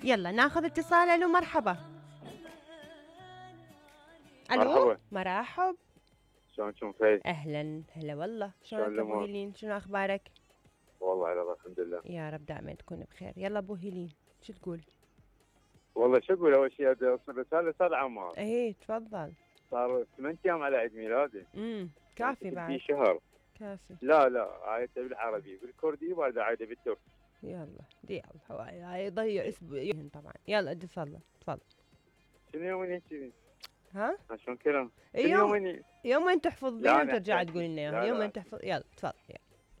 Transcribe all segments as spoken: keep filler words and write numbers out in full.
يلا ناخذ اتصال. الو مرحبا. الو مرحبا. مرحب. شلونكم فايز؟ اهلا هلا والله. شلونك شلون ابو الأمور؟ هيلين؟ شنو اخبارك؟ والله على الله الحمد لله. يا رب دائما تكون بخير. يلا ابو هيلين شو تقول؟ والله شو اقول، اول شيء بدي اوصل رساله استاذ عمار. ايه تفضل. صار ثمان ايام على عيد ميلادي. امم كافي بعد. في شهر. كافي. لا لا عايدته بالعربي بالكردي وبعد عايده بالتركي. يلا دي الله يضيع اسبوع طبعا. يلا اتصل تفضل. شنو يومين هيك؟ ها؟ شلون كلام؟ يوم يومين يومين تحفظ لا، بيهم أنا ترجع أحتاج. تقول لنا لا، اياها. لا. يومين تحفظ. يلا تفضل.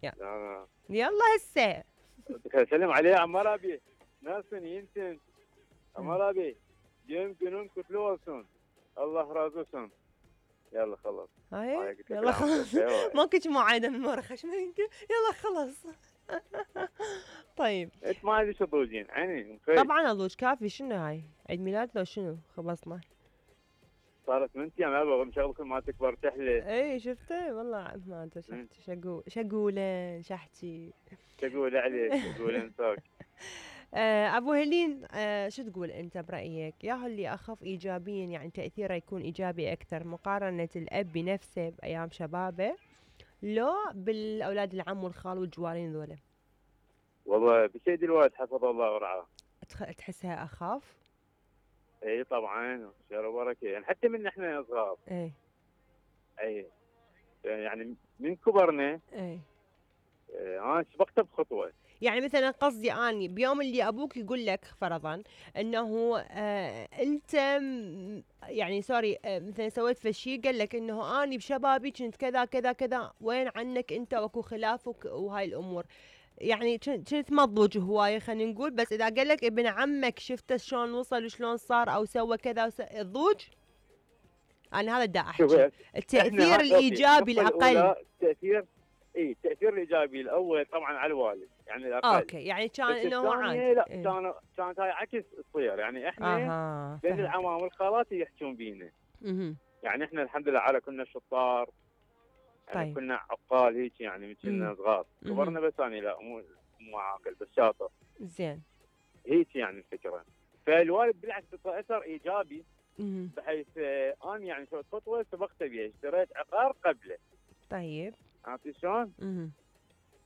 يلا لا لا يلا هسه. بدك اسلم عليه عمار ابي ناسن ينسن عمار ابي يوم جنون كتلوسون الله رازوسون. يلا خلاص. هاي هاي قلت لك يلا العفو. خلاص. أيوة. ما كنت معايدة من ورا خشمك. يلا خلاص. طيب انت ما ادري شو تضوجين عيني. طبعا اضوج كافي. شنو هاي عيد ميلاد لو شنو خلصنا؟ صارت من ايام يابا مشغلكم ما تكبر تحلى. اي شفته والله ما ادري شحتي شقول شقوله شحتي تقول عليك تقول انساك. آه ابو هيلين، آه شو تقول انت برايك؟ يا اللي اخف ايجابيا يعني تاثيره يكون ايجابي اكثر مقارنه الاب بنفسه بايام شبابه لو بالاولاد العم والخال والجوارين ذولا؟ والله بسيد الوالد حفظه الله ورعاه. تخ- تحسها اخف؟ اي طبعا خير وبركه يعني حتى من احنا صغار. ايه اي يعني من كبرنا. ايه اه، انا سبقته بخطوه. يعني مثلا قصدي اني بيوم اللي ابوك يقول لك فرضا انه آه انت م- يعني سوري آه مثلا سويت فشي قال لك انه اني بشبابي كنت كذا كذا كذا، وين عنك انت واكو خلافك وهاي الامور، يعني كنت كنت مضوج هوايه خلينا نقول، بس اذا قال لك ابن عمك شفته شلون وصل وشلون صار او سوى كذا وس... الضوج. انا هذا دا شوف احكي التاثير الايجابي الاقل. التاثير اي التاثير الايجابي الاول طبعا على الوالد يعني الاقل. اوكي يعني كان بس انه الثانية عادي. لا إيه. كان كانت هاي عكس تصير يعني احنا اها بين فهمت. العمام والخالات يحجون بينا. مهم. يعني احنا الحمد لله على كنا شطار. يعني طيب. كنا عقال هيك يعني من كنا مم. صغار. مهم. كبرنا بس اني لا مو مو عاقل بس شاطر. زين. هيك يعني الفكره. فالوالد بالعكس اثر ايجابي مهم. بحيث آه، انا يعني سويت خطوه سبقت بها اشتريت عقار قبله. طيب. عرفتي شلون؟ مهم.